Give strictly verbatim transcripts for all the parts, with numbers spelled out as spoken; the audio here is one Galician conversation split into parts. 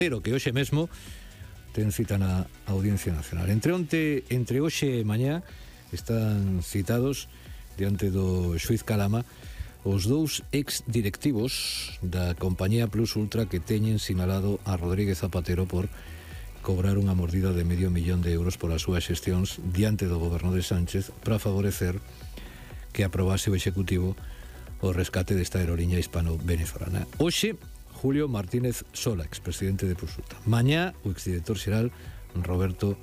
pero que hoxe mesmo ten cita na Audiencia Nacional. Entre onte, entre hoxe e mañá están citados diante do xuíz Calama os dous ex-directivos da compañía Plus Ultra que teñen sinalado a Rodríguez Zapatero por cobrar unha mordida de medio millón de euros polas súas xestións diante do goberno de Sánchez para favorecer que aprobase o Executivo o rescate desta aeroliña hispano-venezolana. Hoxe, Julio Martínez Sola, expresidente de Plus Ultra. Mañá, o exdirector xeral Roberto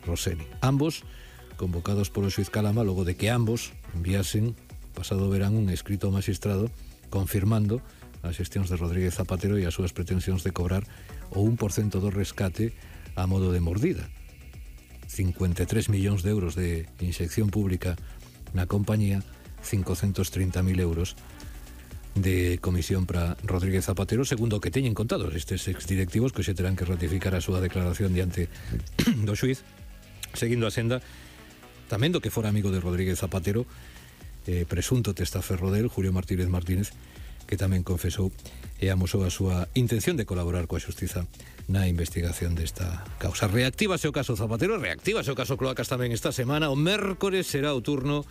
Rossellini. Ambos convocados polo xuíz Calama logo de que ambos enviasen pasado verán un escrito ao magistrado confirmando as xestións de Rodríguez Zapatero e as súas pretensións de cobrar o un por cento do rescate a modo de mordida. cincuenta e tres millóns de euros de inxección pública na compañía, cincocentos trinta mil euros de comisión para Rodríguez Zapatero, segundo o que teñen contados estes exdirectivos que xe terán que ratificar a súa declaración diante do xuíz, seguindo a senda tamén do que fora amigo de Rodríguez Zapatero, eh, presunto testaferro del, Julio Martínez Martínez, que tamén confesou e amosou a súa intención de colaborar coa xustiza na investigación desta causa. Reactívase o caso Zapatero, reactívase o caso Cloacas tamén esta semana. O mércores será o turno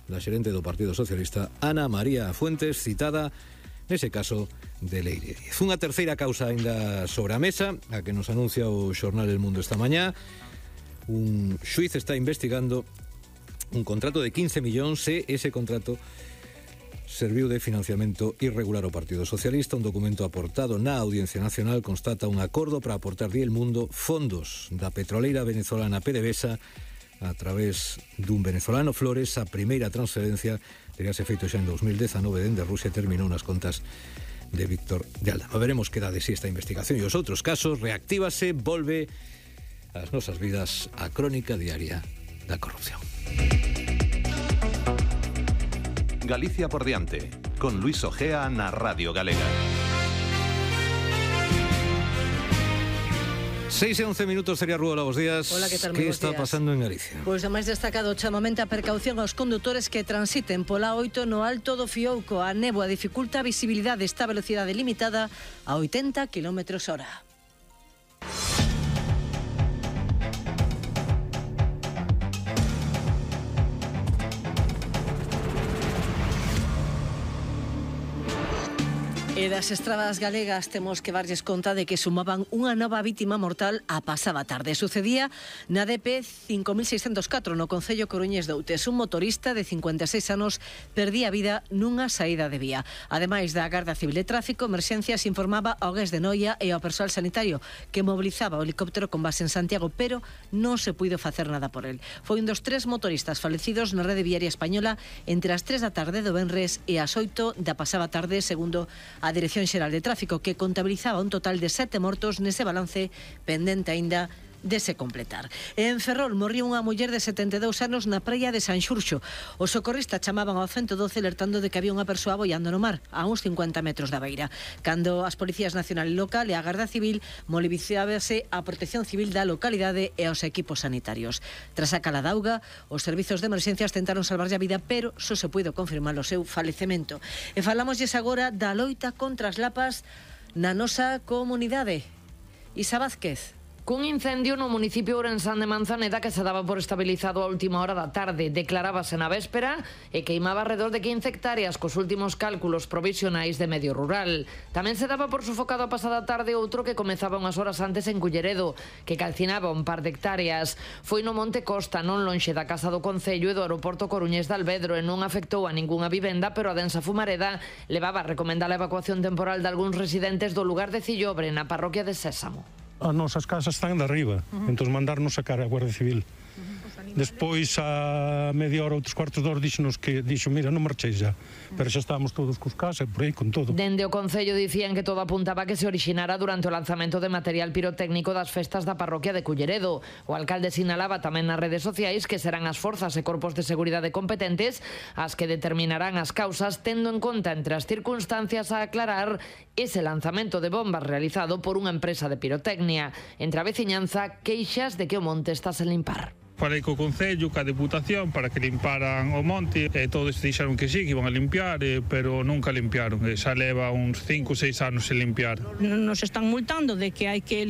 da xerente do Partido Socialista, Ana María Fuentes, citada nese caso de Leire Díez. Unha terceira causa ainda sobre a mesa, a que nos anuncia o xornal El Mundo esta mañá. Un xuiz está investigando un contrato de quince millóns e ese contrato serviu de financiamento irregular ao Partido Socialista. Un documento aportado na Audiencia Nacional constata un acordo para aportar di El Mundo fondos da petroleira venezolana PDVSA a través dun venezolano Flores. A primeira transferencia teríase feito xa en dos mil dezanove dende Rusia e terminou nas contas de Víctor de Aldama. Veremos que dá de si esta investigación e os outros casos. Reactívase, volve ás nosas vidas a crónica diaria da corrupción. Galicia por diante, con Luis Ojea na Radio Galega. seis e once minutos, sería Rúa, bos días. Hola, que tal? Que Bos está días. pasando en Galicia? Pois o máis destacado, chamamento a precaución aos condutores que transiten pola oito no Alto do Fiouco. A néboa dificulta a visibilidade, esta velocidade limitada a oitenta kilómetros hora. E das estradas galegas temos que darlles conta de que sumaban unha nova vítima mortal a pasada tarde. Sucedía na D P cinco mil seiscentos catro no concello Coruñés de Outes. Un motorista de cincuenta e seis anos perdía a vida nunha saída de vía. Ademais da Garda Civil de Tráfico, Emerxencias informaba ao Gués de Noia e ao persoal sanitario que mobilizaba o helicóptero con base en Santiago, pero non se puido facer nada por el. Foi un dos tres motoristas falecidos na rede viaria española entre as tres da tarde do venres e as oito da pasada tarde, segundo a Dirección Xeral de Tráfico, que contabilizaba un total de sete mortos nese balance pendente aínda de se completar. En Ferrol morriu unha muller de setenta e dous anos na praia de San Xurxo. Os socorristas chamaban ao ciento doce alertando de que había unha persoa boiando no mar a uns cincuenta metros da beira. Cando as policías nacional e local e a Garda Civil mobilizábase a Protección Civil da localidade e aos equipos sanitarios. Tras a cala da auga, os servizos de emerxencias tentaron salvarlle a vida, pero só se puido confirmar o seu falecemento. E falámoslles agora da loita contra as lapas na nosa comunidade. Isa Vázquez. Cun incendio no municipio ourensán de Manzaneda que se daba por estabilizado a última hora da tarde. Declarábase na véspera e queimaba alrededor de quince hectáreas cos últimos cálculos provisionais de medio rural. Tamén se daba por sufocado a pasada tarde outro que comezaba unhas horas antes en Culleredo, que calcinaba un par de hectáreas. Foi no Monte Costa, non lonxe da Casa do Concello e do aeroporto Coruñés de Alvedro, e non afectou a ningunha vivenda, pero a densa fumareda levaba a recomendar a evacuación temporal de algúns residentes do lugar de Cillobre, na parroquia de Sésamo. As nosas casas están de arriba, uh-huh. entón mandarnos sacar a Guardia Civil. Uh-huh. Despois, a media hora, outros cuartos de hora, díxonos que, dixo, mira, non marcheis já. Pero xa estábamos todos cos casas, por aí, con todo. Dende o Concello dicían que todo apuntaba que se orixinara durante o lanzamento de material pirotécnico das festas da parroquia de Culleredo. O alcalde sinalaba tamén nas redes sociais que serán as forzas e corpos de seguridade competentes as que determinarán as causas, tendo en conta, entre as circunstancias a aclarar, ese lanzamento de bombas realizado por unha empresa de pirotecnia. Entre a veciñanza, queixas de que o monte está sen limpar. Falei co Concello, ca Deputación, para que limparan o monte, e todos dixeron que sí, que iban a limpiar, eh, pero nunca limpiaron. E xa leva uns cinco ou seis anos sen limpiar. Nos están multando de que hai que